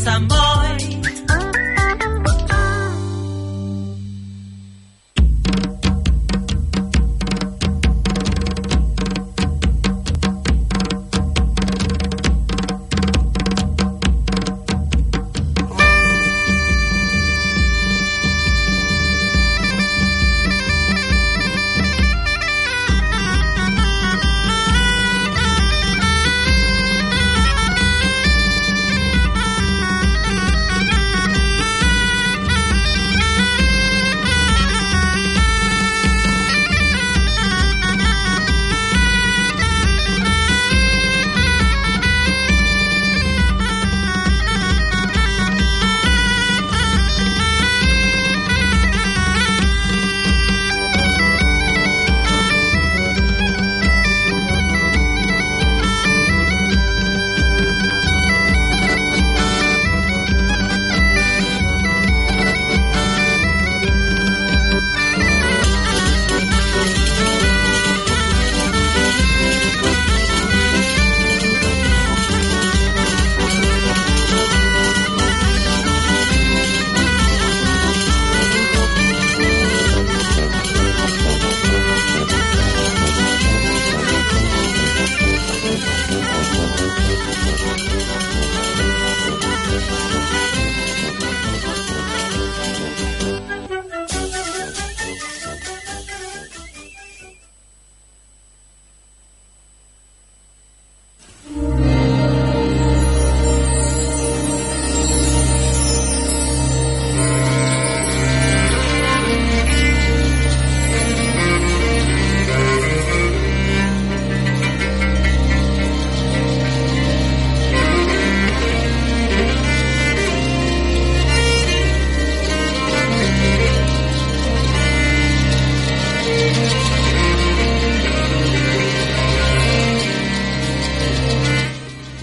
San Boi.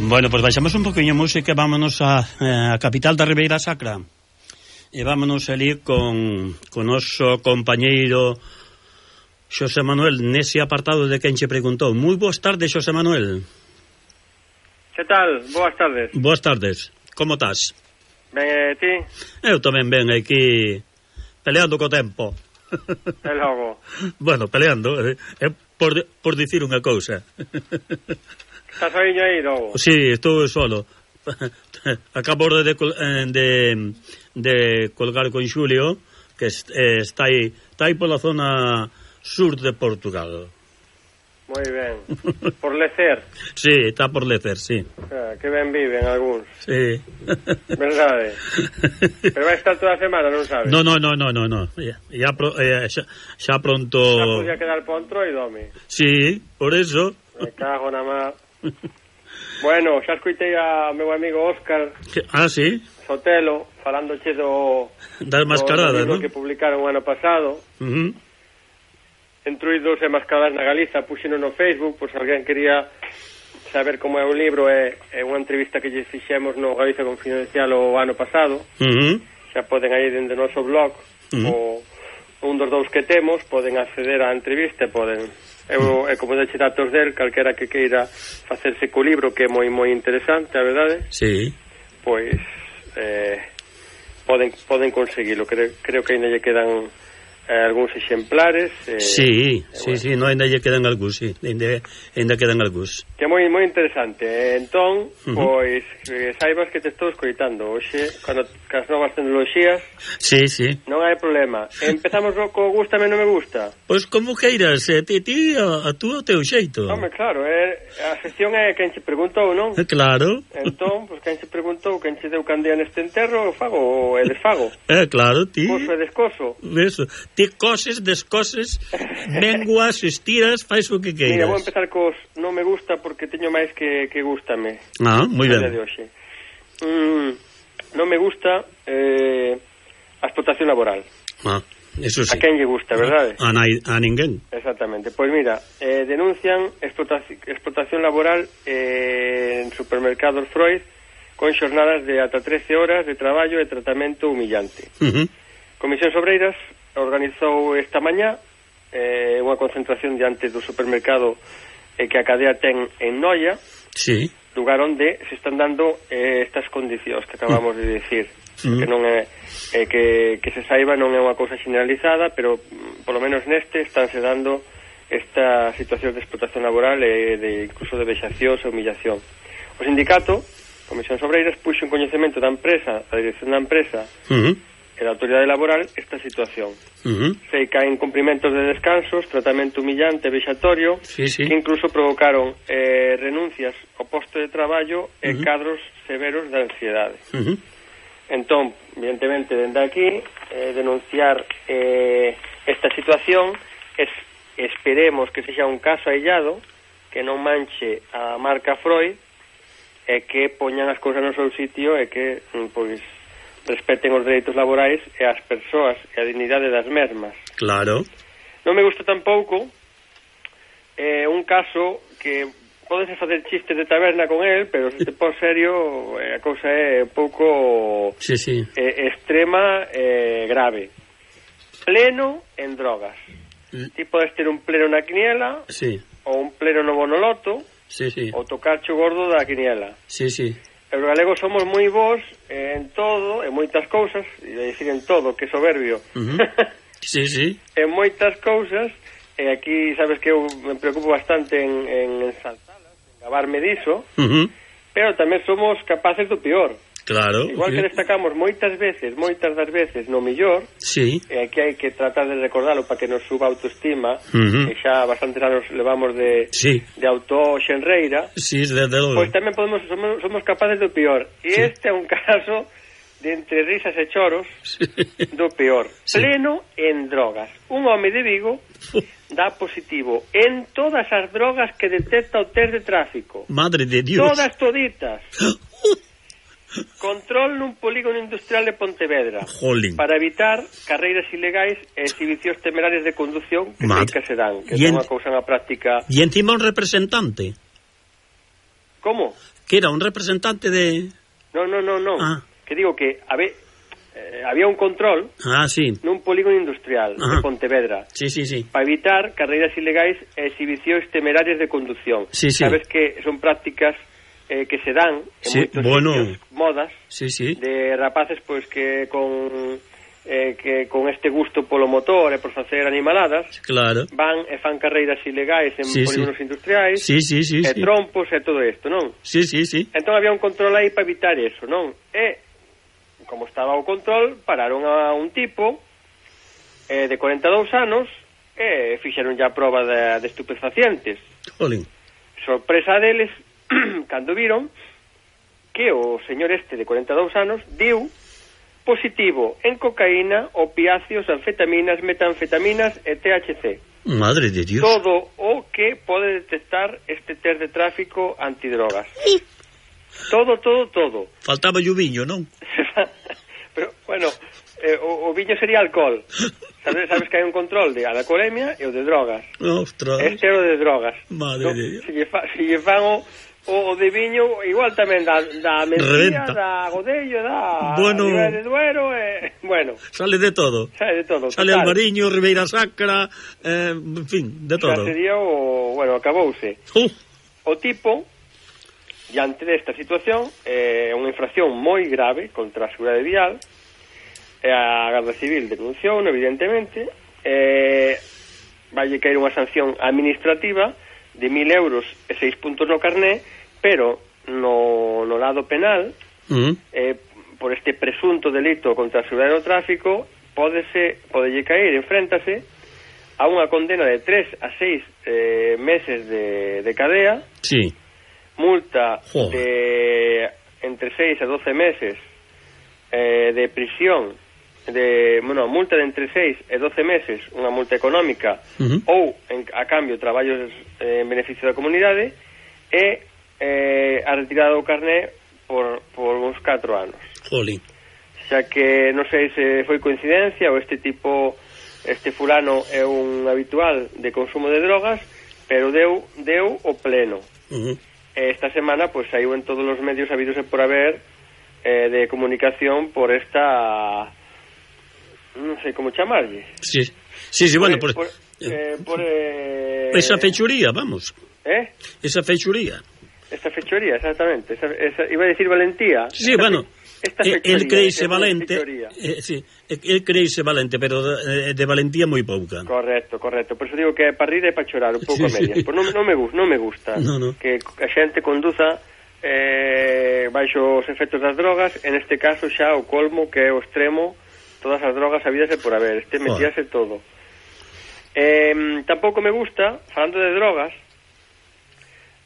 Bueno, pois baixamos un poquinho música e vámonos a capital da Ribeira Sacra. E vámonos ali con noso compañeiro Xosé Manuel nese apartado de quen che preguntou. Moi boas tardes, Xosé Manuel. Que tal? Boas tardes. Boas tardes. Como estás? Ben, ti? Eu tamén ben aquí peleando co tempo. E logo? Bueno, peleando, por dicir unha cousa. Estás soiño aí, logo? Sí, estou solo. Acabo de colgar con Xulio, que está aí pola zona sur de Portugal. Moi ben. Por Lecer? Sí, está por Lecer, sí. Que ben viven algúns. Sí. Verdade. Pero vai estar toda a semana, non sabes? No. Xa pronto... Xa podía quedar po Entroidome. Sí, por eso. Me cago na má. Bueno, xa escoitei a meu amigo Óscar. Ah, sí? Sotelo, falándoche das mascaradas, do ¿no? Que publicaron o ano pasado. Entruidos e mascaradas na Galiza, puxeno no Facebook, pois alguén quería saber como é o libro. É unha entrevista que lle fixemos no Galiza Confidencial o ano pasado. Xa poden aí dende o noso blog, o un dos dous que temos, poden acceder á entrevista e poden... E como deixe datos del, calquera que queira facerse co libro, que é moi interesante, a verdade. Sí. Pois poden conseguilo. Creo que ainda lle quedan algúns exemplares. Sí, non ainda lle quedan algúns, sí. Ainda quedan algúns. Que é moi interesante. Entón, pois saibas que te estou escoitando hoxe, cas novas tecnoloxías. Sí. Non hai problema. Empezamos co gústame non me gusta. Pois como queiras, ti a tú o teu xeito. Home, claro, a sección é quen che preguntou, non? Claro. Entón, pois quen che preguntou, quen che deu candea neste enterro, fago e desfago. Claro, ti. Coso e descoso. Eso. Ti coses, descoses, menguas, estiras, fais o que queiras. Mira, vou empezar cos non me gusta porque teño máis que gústame. Moi ben. Non me gusta a explotación laboral. Eso sí. A quen lle gusta, verdade? A ninguén. Exactamente. Pois mira, denuncian explotación laboral en supermercados Freud con xornadas de ata 13 horas de traballo e tratamento humillante. Comisións Obreiras organizou esta mañá unha concentración diante do supermercado que a cadea ten en Noia. Sí. lugar onde se están dando estas condicións que acabamos de dicir, que non é que se saiba, non é unha cousa generalizada, pero polo menos neste estánse dando esta situación de explotación laboral e de incluso de vexacións e humillación. O sindicato Comisións Obreiras puxo en coñecemento da empresa, da dirección da empresa e da autoridade laboral esta situación. Se caen cumprimentos de descansos, tratamento humillante e vexatorio, que incluso provocaron renuncias ao posto de traballo e cadros severos de ansiedade. Entón, evidentemente, dende aquí, denunciar esta situación, esperemos que sexa un caso aillado, que non manche a marca Freud, e que poñan as cousas no seu sitio e que, pois, respeten os dereitos laborais e as persoas e a dignidade das mesmas. Claro. Non me gusta tampouco un caso que podes facer chistes de taberna con el, pero se te pon serio, a cousa é un pouco extrema e grave. Pleno en drogas. Ti podes ter un pleno na quiniela, ou un pleno no bonoloto, ou tocarche o gordo da quiniela. Os galegos somos moi bons en todo, en moitas cousas, e dicir en todo, que soberbio. En moitas cousas, e aquí sabes que eu me preocupo bastante en ensalzalas, en gabarme diso, pero tamén somos capaces do peor. Claro. Igual que destacamos moitas das veces no millor, e aquí hai que tratar de recordarlo para que nos suba a autoestima, que xa bastantes anos levamos de autoxenreira, pois tamén somos capaces do peor. E este é un caso de entre risas e choros do peor. Pleno en drogas. Un home de Vigo dá positivo en todas as drogas que detecta o test de tráfico. Madre de Dios. Todas toditas. Control nun polígono industrial de Pontevedra. Para evitar carreiras ilegais e exhibicións temerarias de condución que se dan, que é unha cousa na práctica. E encima un representante. Como? Que era un representante de... Non. Que digo que había un control nun polígono industrial de Pontevedra para evitar carreiras ilegais e exhibicións temerarias de condución. Sabes que son prácticas que se dan en moitos sitios, modas de rapaces pois que con este gusto polo motor e por facer animaladas van e fan carreiras ilegais en polígonos industriais e trompos e todo isto, non? Entón había un control aí para evitar eso, non? E como estaba o control, pararon a un tipo de 42 anos e fixeron ya a prova de estupefacientes. Sorpresa deles cando viron que o señor este de 42 anos deu positivo en cocaína, opiáceos, anfetaminas, metanfetaminas e THC. Madre de Dios. Todo o que pode detectar este test de tráfico antidrogas. Todo. Faltaba o viño, non? Pero, bueno, o viño sería alcohol. Sabes que hai un control de alcoholemia e o de drogas. Ostras. Este é o de drogas. Madre de Dios. Se lle fan o de viño, igual tamén da Mencía, da Godello, da Ribera de Duero, bueno. Sale de todo. Sale Alvariño, Ribeira Sacra, en fin, de todo. Xa sería acabouse. O tipo, diante desta situación, unha infracción moi grave contra a seguridade vial, a Garda Civil denunciou, evidentemente, vai caer unha sanción administrativa de 1.000 euros e 6 puntos no carné, pero no lado penal, por este presunto delito contra a seguridade do tráfico, podelle caer, enfréntase a unha condena de 3 a 6 meses de cadea, multa de entre 6 a 12 meses de prisión, multa de entre 6 e 12 meses, unha multa económica, ou a cambio traballos en beneficio da comunidade, e a retirada do carné por uns 4 anos. Xa que non sei se foi coincidencia ou este fulano é un habitual de consumo de drogas, pero deu o pleno. Esta semana pois saiu en todos os medios habidos e por haber de comunicación por esta, non sei como chamarlle. Bueno, por esa fechuría, vamos. Esa fechuría. Esta fechoría, exactamente. Iba a decir valentía. Sí, bueno, el creise valente, el creise valente, pero de valentía moi pouca. Correcto. Por eso digo que é para rir e para chorar un pouco a medias. Pois non me gusta que a xente conduza baixo os efectos das drogas, en este caso xa o colmo, que é o extremo, todas as drogas habidas e por haber, metíase todo. Tampouco me gusta, falando de drogas,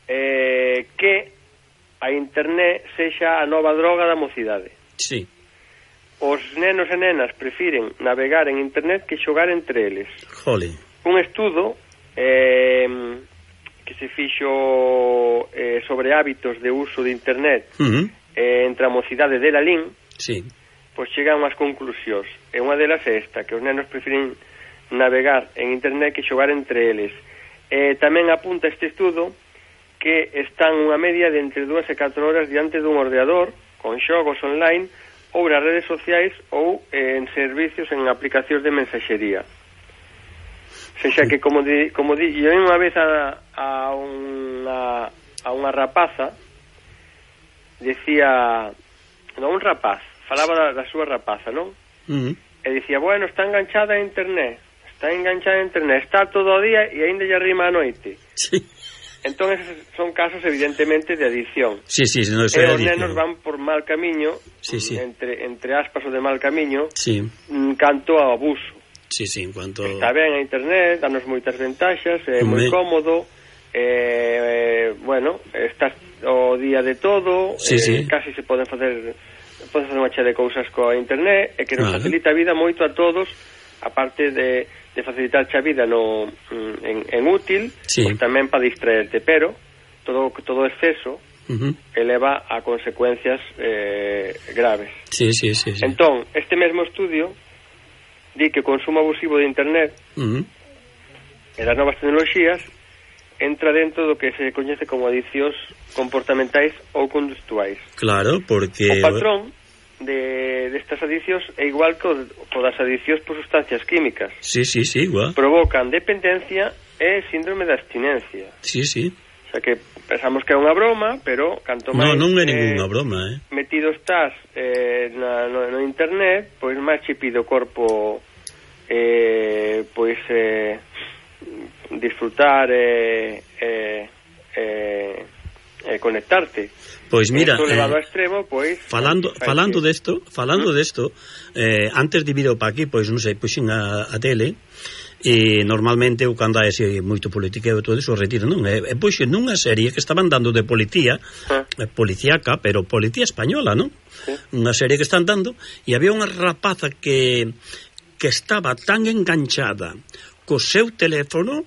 que a internet sexa a nova droga da mocidade. Sí. Os nenos e nenas prefiren navegar en internet que xogar entre eles. Jole. Un estudo que se fixo sobre hábitos de uso de internet entre a mocidade de Lalín, pois chegan unhas conclusións, e unha delas é esta, que os nenos prefiren navegar en internet que xogar entre eles. Tamén apunta este estudo que están unha media de entre 2 e 4 horas diante dun ordenador, con xogos online, ou nas redes sociais, ou en servicios, en aplicacións de mensaxería. Sexa que, como di, eu unha vez a unha rapaza, decía, non, un rapaz, falaba da súa rapaza, non? E dicía, bueno, está enganchada a internet, está todo o día e aínda lle arrima a noite. Sí. Entón, son casos, evidentemente, de adicción. Sí, no, e os nenos van por mal camiño, entre aspas o de mal camiño, canto ao abuso. En cuanto... Está ben a internet, danos moitas ventaxas, é moi cómodo, bueno, estás o día de todo, casi se poden facer unha chea de cousas coa internet, e que nos facilita a vida moito a todos, aparte de facilitar a vida en útil, pois tamén para distraerte, pero todo exceso eleva a consecuencias graves. Entón, este mesmo estudio di que o consumo abusivo de internet e das novas tecnoloxías entra dentro do que se coñece como adiccións comportamentais ou conductuais. Claro, porque... O patrón destas adiccións é igual que o das adiccións por sustancias químicas. Igual. Provocan dependencia e síndrome de abstinencia. O sea que pensamos que é unha broma, pero canto máis... Non é ninguna broma, metido estás no internet, pois máis che pide o corpo pois disfrutar conectarte. Pois mira, levado ao extremo, pois falando desto, antes de vir para aquí, pois non sei, puxen a tele, e normalmente eu cando hai así moito politiqueo e todo iso retiro, non? E puxen nunha serie que estaban dando de policía, policíaca, pero policía española, non? Unha serie que están dando, e había unha rapaza que estaba tan enganchada co seu teléfono,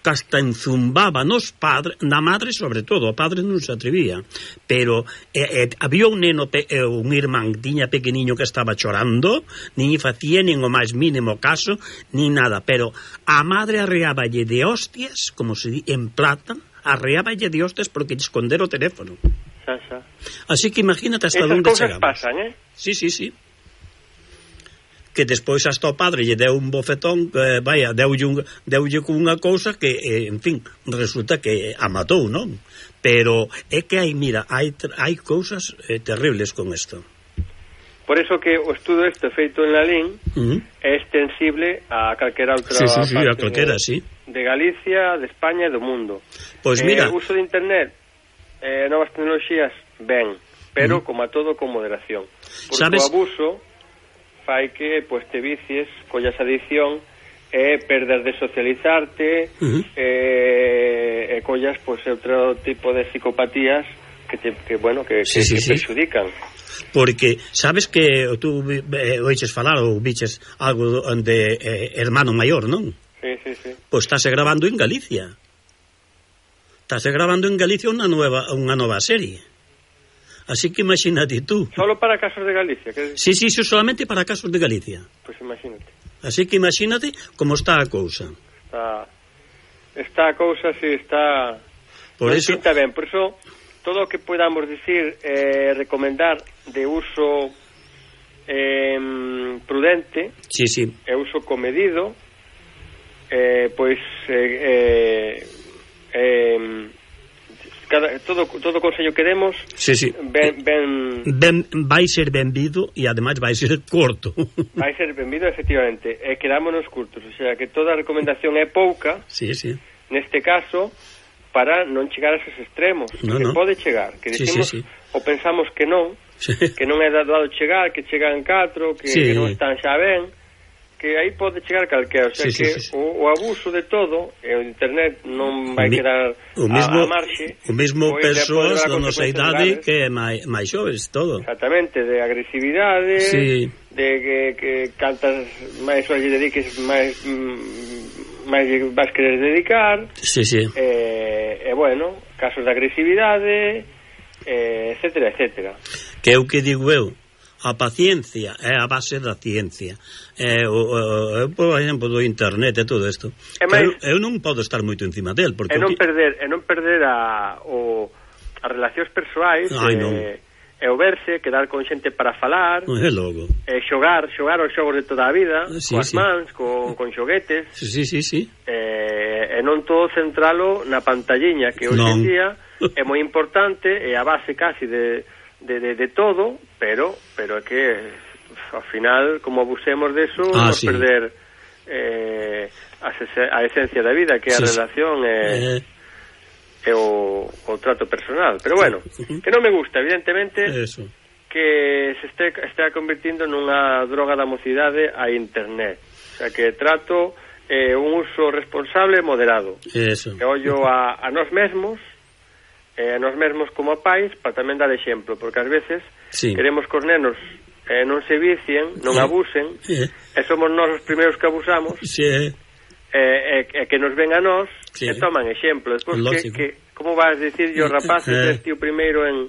que hasta enzumbaba nos padres, na madre sobre todo, o padre non se atrevía, pero había un neno, un irmán tiña pequeniño que estaba chorando, nin facía nin o máis mínimo caso, nin nada, pero a madre arreáballe de hostias, como se di, en plata, arreáballe de hostias porque lle esconder o teléfono. Así que imagínate hasta onde chegamos. Esas cousas pasan, Sí. Que despois hasta o padre lle deu un bofetón, deulle cunha cousa que, en fin, resulta que a matou, non? Pero é que hai cousas terribles con isto. Por eso que o estudo este feito en Lalín é extensible a calquera outra parte a calquera, de Galicia, de España e do mundo. Pois mira, o uso de internet, novas tecnoloxías, ben, pero como a todo, con moderación. Porque o abuso fai que pois te vicies, collas adicción e perder de socializarte, e collas pois outro tipo de psicopatías que perxudican. Porque sabes que tú oiches falar ou viches algo de hermano maior, non? Sí. Pois estáse grabando en Galicia. Unha nova serie. Así que imagínate tú. Solo para casos de Galicia? Sí, solamente para casos de Galicia. Pois imagínate. Así que imagínate como está a cousa. Está a cousa, está... Por eso... Está ben, por eso, todo o que podamos dicir, recomendar de uso prudente, e uso comedido, pois... todo consello que demos vai ser benvido e ademais vai ser corto. Vai ser benvido, efectivamente, e quedámonos curtos, o sea, que toda a recomendación é pouca, neste caso, para non chegar a esos extremos, que pode chegar, que decimos, ou pensamos que non é dado chegar, que chegan 4, que non están xa ben, que aí pode chegar calquera, o sea que o abuso de todo, e o internet non vai quedar a marxe. O mesmo persoas da nosa idade que é máis xoves, todo. Exactamente, de agresividade, de que cantas máis horas lle dediques, máis vas querer dedicar, e bueno, casos de agresividade, etcétera, etcétera. Que é o que digo eu, a paciencia é a base da ciencia, por exemplo, do internet e todo isto. Eu non podo estar moito encima del, porque non perder as relacións persoais, e o verse, quedar con xente para falar, xogar os xogos de toda a vida, coas mans, con xoguetes, e non todo centralo na pantalliña, que hoxe en día é moi importante, é a base casi de todo, pero é que ao final, como abusemos deso, vamos perder a esencia da vida, que é a relación e o trato personal. Pero bueno, que non me gusta, evidentemente, que se estea convertindo nunha droga da mocidade a internet. O sea, que trato un uso responsable e moderado. Que ollo a nós mesmos, nos mesmos como pais, para tamén dar exemplo, porque ás veces queremos que os nenos non se vicien, non abusen, e somos nós os primeiros que abusamos, e que nos ven a nós e toman exemplo. Despois, como vas dicir yo, rapaces, o primeiro en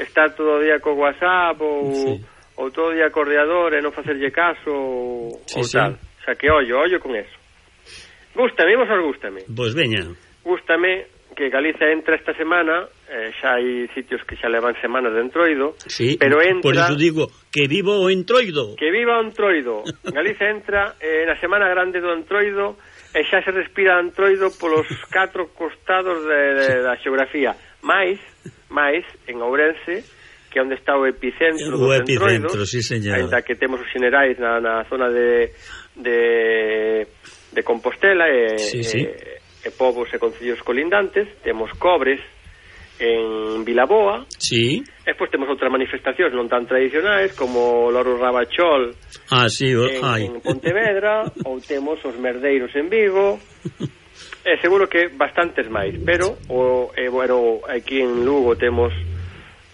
estar todo o día co WhatsApp ou todo o día co ordenador e non facerlle caso ou tal. O sea, que ollo con eso. Gústame, Pois veña. Gústame que Galicia entra esta semana, xa hai sitios que xa levan semanas de entroido, pero entra... Por iso digo, que viva o entroido. Que viva o entroido. Galicia entra na semana grande do entroido e xa se respira entroido polos 4 costados da xeografía. Mais, en Ourense, que é onde está o epicentro do entroido, ainda que temos os xenerais na zona de Compostela e povos e concellos colindantes, temos Cobres en Vilaboa, e despois temos outras manifestacións non tan tradicionais como o Loro Rabachol en Pontevedra, ou temos os Merdeiros en Vigo, e seguro que bastantes máis, pero bueno, aquí en Lugo temos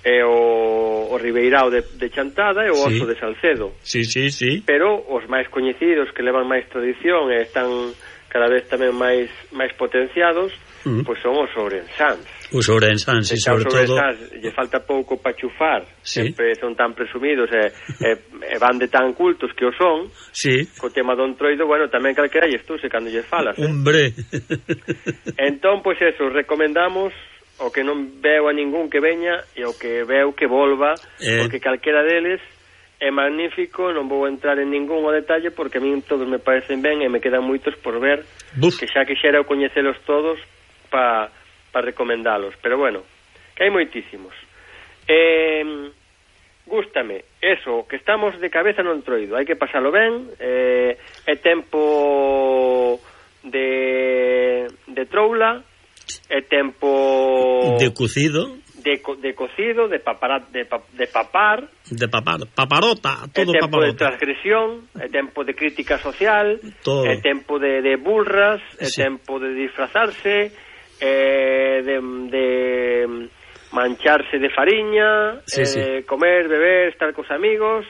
o Ribeirao de Chantada e o Oso de Salcedo, pero os máis coñecidos, que levan máis tradición e están cada vez tamén máis potenciados, pois son os ourensáns. Os ourensáns, sobre todo... Lle falta pouco para chufar, sempre son tan presumidos e van de tan cultos que o son, co tema do entroido, bueno, tamén calquera lles túse cando lles falas. Hombre! Entón, pois eso, recomendamos o que non veo a ningún que veña e o que veo que volva, porque calquera deles é magnífico, non vou entrar en ningún detalle porque a mí todos me parecen ben e me quedan moitos por ver, que xa quixera coñecelos todos para recomendalos, pero bueno, que hai moitísimos. Gústame eso, que estamos de cabeza no entroido, hai que pasalo ben, é tempo de troula, é tempo de cocido, de cocido, de papar, paparota, todo é tempo paparota. de transgresión, é tempo de crítica social, é tempo de burras, é tempo de disfrazarse, de mancharse de fariña, comer, beber, estar cos amigos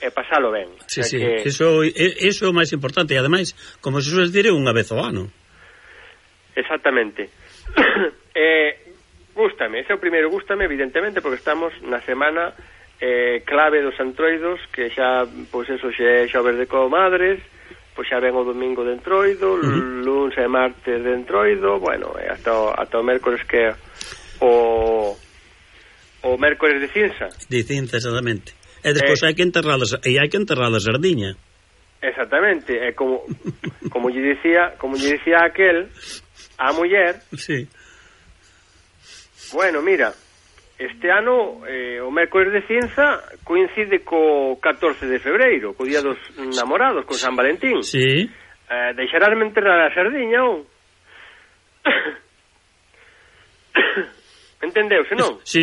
e pasalo ben. Que... Eso é o máis importante, e ademais, como se suele dire, unha vez ao ano. Exactamente. Gústame, ese é o primeiro, gústame, evidentemente, porque estamos na semana clave dos entroidos, que xa, pois eso, xa é xoves de comadres, pois xa ven o domingo de entroido, luns e martes de entroido, bueno, hasta o mércores, que o mércores de cinza. De cinza, exactamente. E despois hai que enterrar a sardiña. Exactamente, é como lle dicía aquel a muller, Bueno, mira, este ano o mércores de Cienza coincide co 14 de febreiro, co día dos namorados, con San Valentín. Sí. Deixarásme enterrar a sardiña, ou? Entendeuse, non? Sí,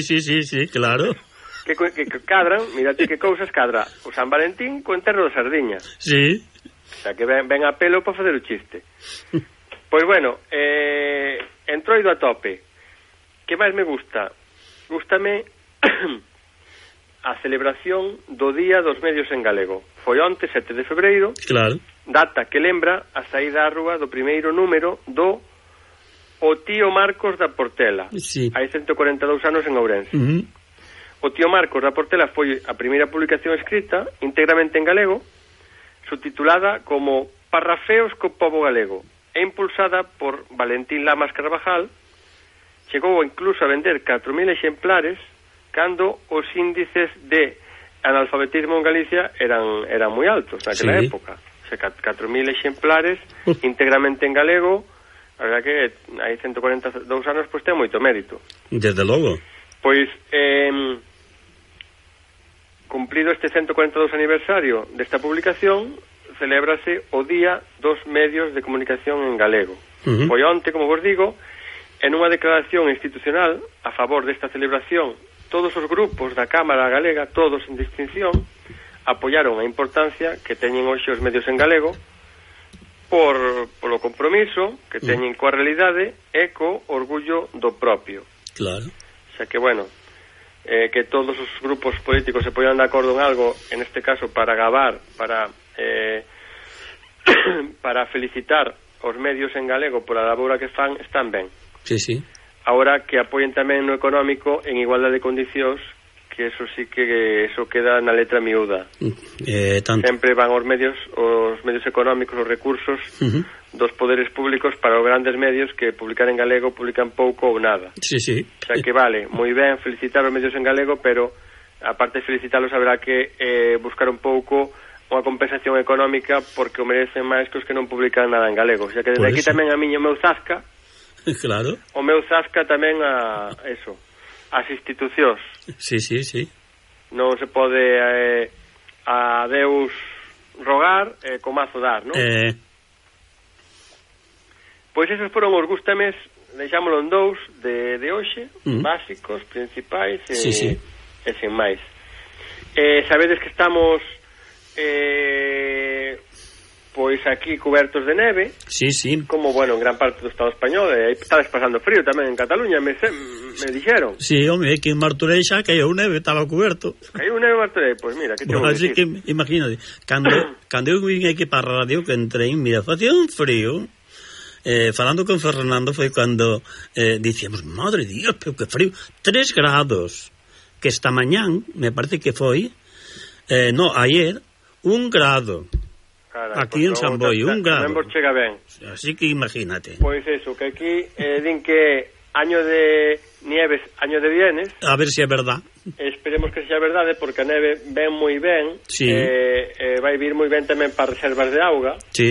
claro. Que cadran, mírate que cousas cadra o San Valentín co enterro da sardiña. Sí. O sea, que ven a pelo para facer o chiste. Pois bueno, entroido a tope. Que máis me gusta? Gústame a celebración do Día dos Medios en Galego. Foi onte, 7 de febreiro. Claro. Data que lembra a saída á rúa do primeiro número do O Tío Marcos da Portela. Sí. Hai 142 anos en Ourense. O Tío Marcos da Portela foi a primeira publicación escrita íntegramente en galego, subtitulada como Parrafeos co pobo galego, e impulsada por Valentín Lamas Carvajal. Chegou incluso a vender 4.000 exemplares cando os índices de analfabetismo en Galicia eran moi altos naquela época. O sea, 4.000 exemplares íntegramente en galego. A verdad que hai 142 anos, pois ten moito mérito. Desde logo. Pois, cumplido este 142 aniversario desta publicación, celébrase o Día dos Medios de Comunicación en Galego. Foi onte, como vos digo, en unha declaración institucional a favor desta celebración, todos os grupos da Cámara Galega, todos en distinción, apoiaron a importancia que teñen hoxe os medios en galego, polo compromiso que teñen coa realidade e co orgullo do propio. Claro. O sea que, bueno, que todos os grupos políticos se poñan de acordo en algo, en este caso para gabar, para felicitar os medios en galego pola labora que fan, están ben. Sí. Ahora que apoien tamén no económico en igualdade de condicións, que eso sí que eso queda na letra miúda. Tanto. Sempre van os medios económicos, os recursos dos poderes públicos para os grandes medios que publicar en galego publican pouco ou nada. Sí. O sea que vale, moi ben felicitar os medios en galego, pero aparte de felicitalos haberá que buscar un pouco unha compensación económica porque o merecen máis que os que non publican nada en galego. O sea que desde aquí tamén a miña o meu zasca. Claro. O meu zasca tamén a eso. As institucións. Sí. Non se pode a Deus rogar co mazo dar, non? Pois esos foron os gustames, deixámoslo en dous de hoxe, básicos, principais e sen máis. Sabedes que estamos pois aquí cubertos de neve. Sí. Como, bueno, en gran parte do Estado español, estades pasando frío tamén en Cataluña, me dixeron. Sí, home, que en Martorell xa caiu neve, estaba cuberto. Caiu neve en Martorell, pois mira, que te vou dicir. Así que, imagínate, cando eu vim aquí para a radio, que entrei, mira, facía un frío. Falando con Fernando foi cando dicíamos, madre Dios, pero que frío, 3 grados, que esta mañán, me parece que foi, ayer, 1 grado. Carai, aquí en San Boi, 1 grado. Chega ben. Así que imagínate. Pois eso, que aquí din que año de nieves, año de bienes. A ver se é verdad. Esperemos que sea verdade, porque a neve ven moi ben. Sí. Vai vir moi ben tamén para reservas de auga. Sí.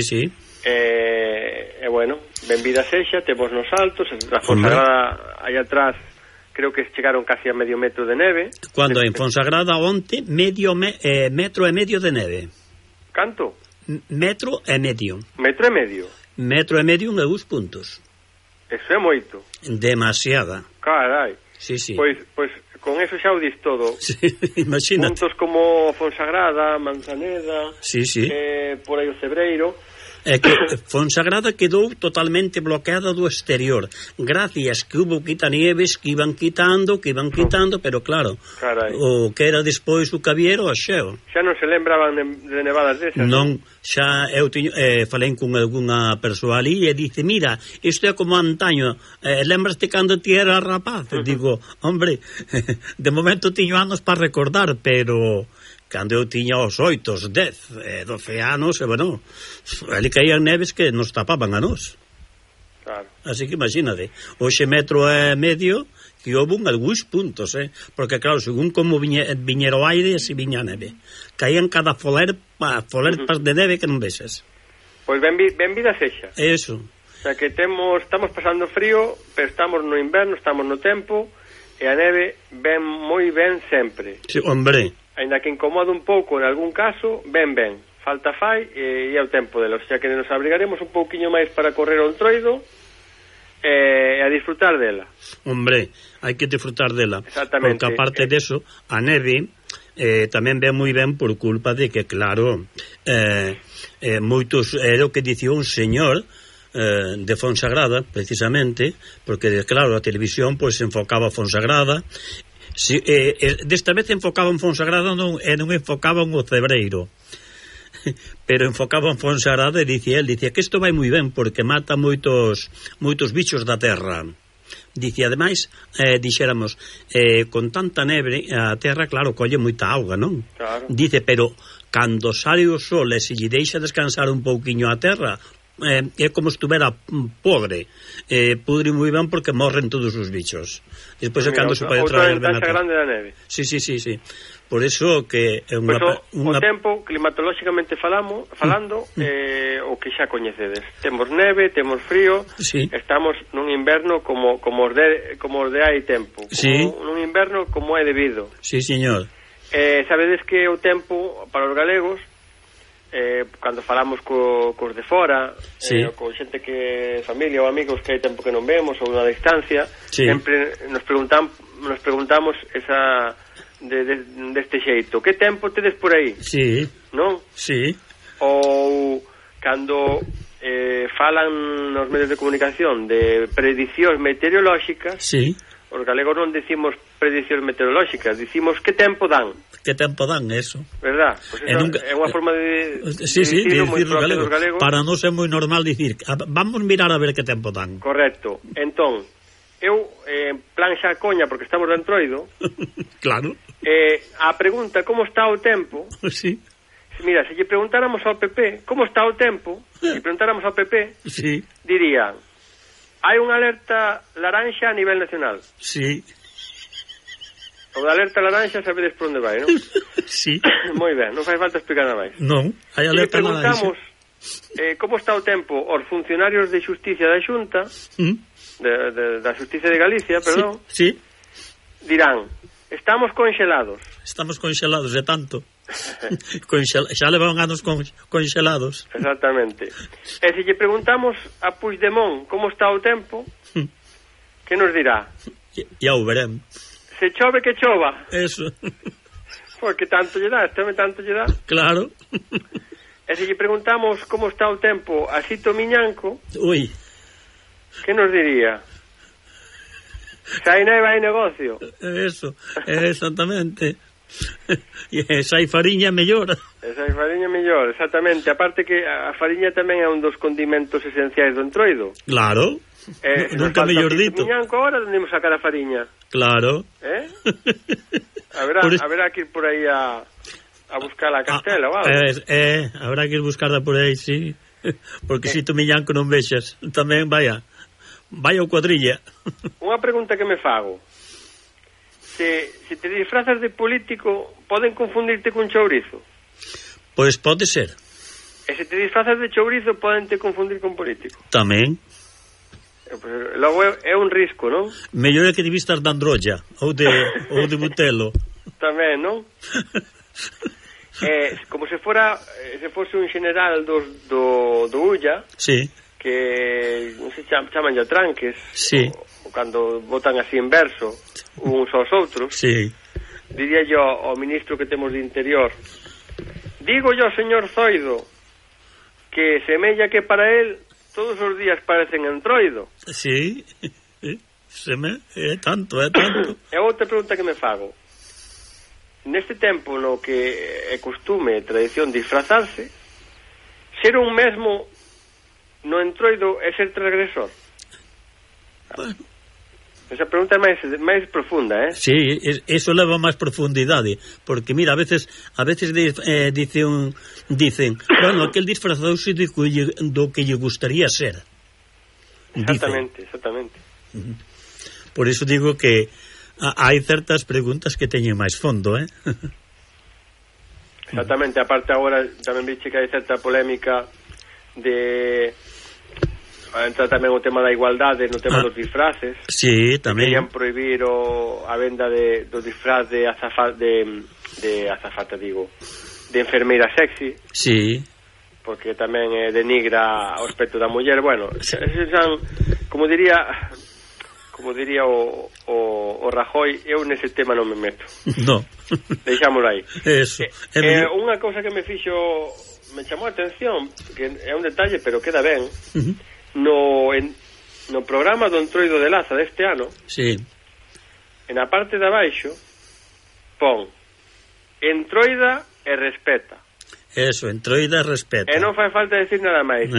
Bueno, benvida sexa, temos nos altos, a Fonsagrada aí atrás, creo que chegaron casi a medio metro de neve. Cando en Fonsagrada onte, metro e medio de neve. Canto? Metro e medio. Metro e medio? Metro e medio en 2 puntos. Eso é moito. Demasiada. Carai. Sí. Pois con eso xa o dis todo. Sí, imagínate. Puntos como Fonsagrada, Manzaneda, sí. Por aí o Cebreiro. É que Fonsagrada quedou totalmente bloqueada do exterior, gracias que hubo quitanieves que iban quitando, pero claro, carai, o que era despois o cabiero a xeo. Xa non se lembraban de nevadas desas? Non, xa eu falei con algunha persoa ali e dice, mira, isto é como antaño, lembraste cando ti era rapaz? Digo, hombre, de momento tiño anos para recordar, pero cando eu tiña os 8, os 10, 12 anos, bueno, ali caían neves que nos tapaban a nós. Claro. Así que imagínate, hoxe metro e medio que houve algúns puntos, porque claro, según como viñera o aire, así viña a neve. Caían cada folerpas de neve que non veses. Pois ben vida sexa. Eso. O sea que estamos pasando frío, pero estamos no inverno, estamos no tempo, e a neve ven moi ben sempre. Sí, hombre. Ainda que incomoda un pouco en algún caso, ben. Falta fai e é o tempo dela. O sea que nos abrigaremos un pouquiño máis para correr o Entroido e a disfrutar dela. Hombre, hai que disfrutar dela. Exactamente. Porque aparte deso, a neve tamén ven moi ben por culpa de que, claro, moitos, era o que dicía un señor de Fonsagrada, precisamente, porque, claro, a televisión pois enfocaba a Fonsagrada. Si, desta vez enfocaba en Fonsagrada non enfocaban o Cebreiro, pero enfocaban Fonsagrada e dicía que isto vai moi ben porque mata moitos bichos da terra. Dicía, ademais, dixéramos, con tanta neve a terra, claro, colle moita auga, non? Claro. Dice, pero cando sale o sol e se lle deixa descansar un pouquiño a terra, é como estuvera podre, pudre moi ben porque morren todos os bichos. Despois é cando se pode traer ben a grande da neve. Sí. Por eso que é unha... O tempo, climatolóxicamente falando, o que xa coñecedes. Temos neve, temos frío, sí. Estamos nun inverno como os de hai tempo, sí. Nun inverno como é debido. Sí, señor. Sabedes que o tempo para os galegos, cando falamos cos de fora, sí. Con xente que familia ou amigos que hai tempo que non vemos ou na distancia, sí. Sempre nos preguntamos esa deste xeito, que tempo tedes por aí? Sí. Non? Sí. Ou cando falan nos medios de comunicación de predicións meteorolóxicas, sí. Os galegos non decimos predicións meteorolóxicas, dicimos que tempo dan. Que tempo dan, eso. Verdad? Pues eso nunca, é unha forma de decirlo moi propia dos galegos. Para non ser moi normal dicir, vamos mirar a ver que tempo dan. Correcto. Entón, eu, en plan xa coña, porque estamos de Entroido, claro. A pregunta, como está o tempo? Sí. Mira, se lle preguntáramos ao PP como está o tempo, se preguntáramos ao PP, sí. Dirían, hai unha alerta laranxa a nivel nacional. Sí. O da alerta laranxa sabedes por onde vai, non? Sí. Moi ben, non fai falta explicar nada máis. Non, hai alerta laranxa. Se preguntamos como está o tempo aos funcionarios de Xusticia da Xunta, da Xusticia de Galicia, perdón, sí. Dirán, estamos conxelados. Estamos conxelados de tanto. Xa levan anos conxelados. Exactamente. E se lle preguntamos a Puigdemont como está o tempo, que nos dirá? Ya o veremos. Se chove que chova. Eso. Porque tanto lle dá, tanto lle dá. Claro. E se lle preguntamos como está o tempo a Sito Miñanco, ui, que nos diría? Se hai neve hai negocio. Eso, exactamente. E se hai fariña mellor. Se hai fariña mellor, exactamente. Aparte que a fariña tamén é un dos condimentos esenciais do Entroido. Claro. Nunca mellor dito. Miñanco agora onde imos sacar a fariña? Claro. Haberá que ir por aí a buscar a Castela ou algo. Habrá que ir buscarla por aí, sí. Porque si tu Miñanco non vexas, tamén vaya o cuadrilla. Unha pregunta que me fago. Se te disfrazas de político, poden confundirte con chourizo? Pois pode ser. E se te disfrazas de chourizo, poden te confundir con político? Tamén. Pues, logo é un risco, non? Mellor é que te vistas de androlla ou de butelo. Tamén, non? Como se fose un general do Ulla, sí, que non se chaman ya tranques, sí, o cando votan así en verso uns aos outros, sí. Diría yo ao ministro que temos de Interior, digo yo, señor Zoido, que semella que para él todos os días parecen Entroido. Sí, é tanto. E outra pregunta que me fago, neste tempo no que é costume, tradición disfrazarse, ser un mesmo no Entroido é ser transgresor? Bueno, esa pregunta é máis profunda, Sí, eso leva máis profundidade, porque mira, a veces dicen, bueno, aquel disfrazouse do que lle gustaría ser. Exactamente. Por iso digo que hai certas preguntas que teñen máis fondo, Exactamente, aparte agora tamén viche que hai certa polémica de entra tamén o tema da igualdade no tema dos disfraces. Sí, tamén. Querían prohibir a venda do disfraz de azafata, de enfermeira sexy. Sí. Porque tamén denigra o aspecto da muller. Bueno, como diría o Rajoy, eu nese tema non me meto. No. Deixámoslo aí. Eso. Unha cousa que me chamou a atención, que é un detalle, pero queda ben. No programa do Entroido de Laza deste ano, sí, en a parte de abaixo pon Entroida e respeta. Eso, Entroida e respeta. E non fai falta decir nada máis.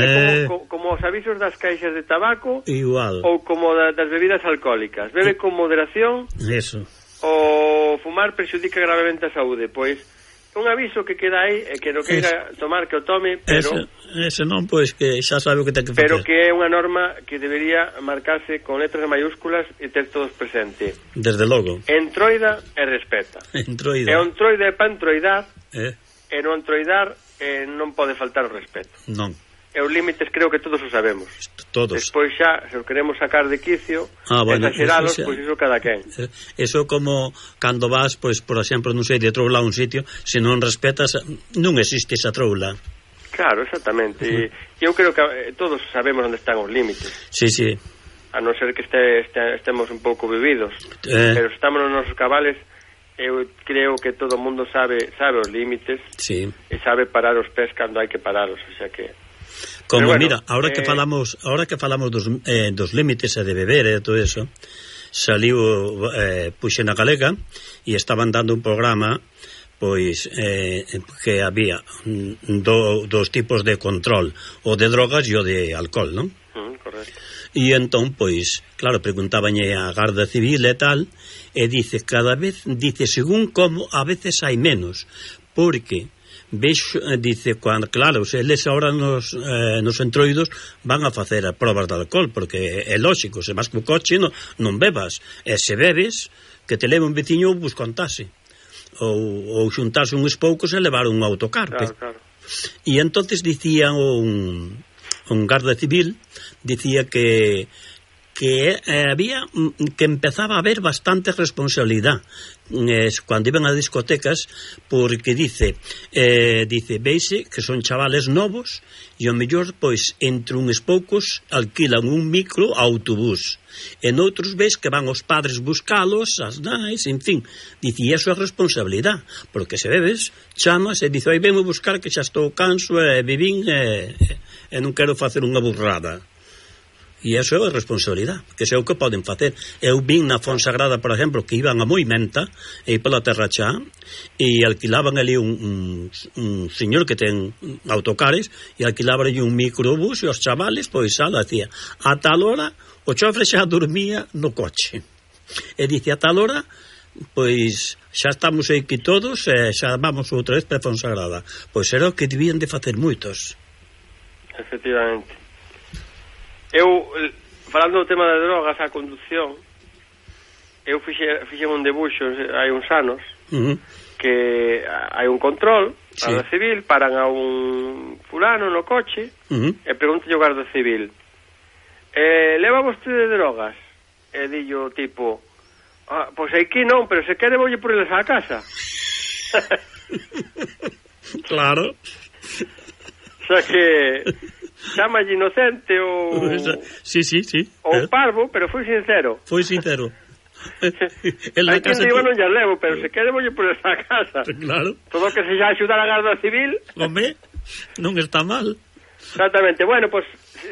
Como os avisos das caixas de tabaco, igual, ou como das bebidas alcohólicas. Bebe con moderación. Eso. O fumar perxudica gravemente a saúde. Pois un aviso que queda aí e que non queira tomar que o tome, pero ese non, pois que xa sabe o que ten que facer. Pero que é unha norma que debería marcarse con letras mayúsculas e ter todos presente. Desde logo. Entroida e respeta. Entroida. E o entroida é para entroidar, e no entroidar non pode faltar o respeto. Non. E os límites creo que todos o sabemos. Todos. Despois xa, se o queremos sacar de quicio, bueno, exagerados, pois iso cada quen. Eso como cando vas, pois, por exemplo, non sei, de troula a un sitio, se non respetas, non existe esa troula. Claro, exactamente. E eu creo que todos sabemos onde están os límites. Sí, sí. A non ser que estemos un pouco bebidos. Pero se estamos nos nosos cabales, eu creo que todo o mundo sabe os límites. Sí. E sabe parar os pés cando hai que paralos, o sea que como, bueno, mira, ahora que falamos dos límites e de beber e todo eso, saliu puxe na Galega e estaban dando un programa, pois que había dos tipos de control, o de drogas e o de alcohol, non? Correcto. E entón, pois, claro, preguntabanlle a Garda Civil e tal, e dice, cada vez, según como, a veces hai menos, porque vexo, dice, cuando, claro, se eles ahora nos entroidos van a facer a probas de alcohol, porque é lógico, se vas co coche non bebas, e se bebes que te leve un veciño bus contase ou xuntarse uns poucos e levar un autocar. Claro. E entonces dicía un garda civil, dicía que había que empezaba a haber bastante responsabilidad cando iban a discotecas, porque dice veise que son chavales novos e o mellor, pois, entre uns poucos alquilan un micro autobús, e noutros ves que van os padres buscalos, as nais, en fin, dice, e iso é responsabilidade, porque se bebes chamas e dice, oi, venmo buscar que xa estou canso e vivín e non quero facer unha burrada. E iso é a responsabilidade, que é o que poden facer. Eu vin na Fonsagrada, por exemplo, que iban a Moimenta e pola Terra Chá e alquilaban ali un señor que ten autocares e alquilaban ali un microbús e os chavales, pois, decía, a tal hora o chofre xa dormía no coche e dice, a tal hora pois xa estamos aquí todos e xa vamos outra vez para Fonsagrada. Pois era o que debían de facer moitos. Efectivamente. Eu, falando do tema de drogas, a conducción, eu fixe un debuxo hai uns anos, que hai un control, sí, Guarda Civil, paran a un fulano no coche, e pregunta o Guarda Civil, leva vostede drogas? E dillo tipo, pois aquí non, pero se quere voulle por eles á casa. Claro. O sea que chamalle inocente ou sí. ou parvo, pero foi sincero. Hai quen digo non ya levo, pero se quere voulle por esa casa. Claro. Todo que se xa axudar a Garda Civil, home, non está mal. Exactamente. Bueno, pues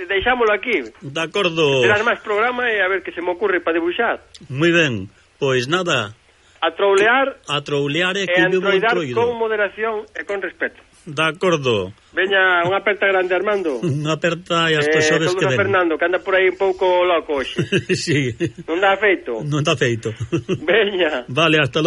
deixámoslo aquí. De acordo. Terás máis programa e a ver que se me ocurre para dibuixar. Moi ben, pois nada, a troulear e que entroidar con moderación e con respeto. De acordo. Veña, unha aperta grande, Armando. Unha aperta e hasta xoves que ven. Fernando, que anda por aí un pouco loco hoxe. Sí. Non dá feito. Non dá feito. Veña. Vale, hasta logo.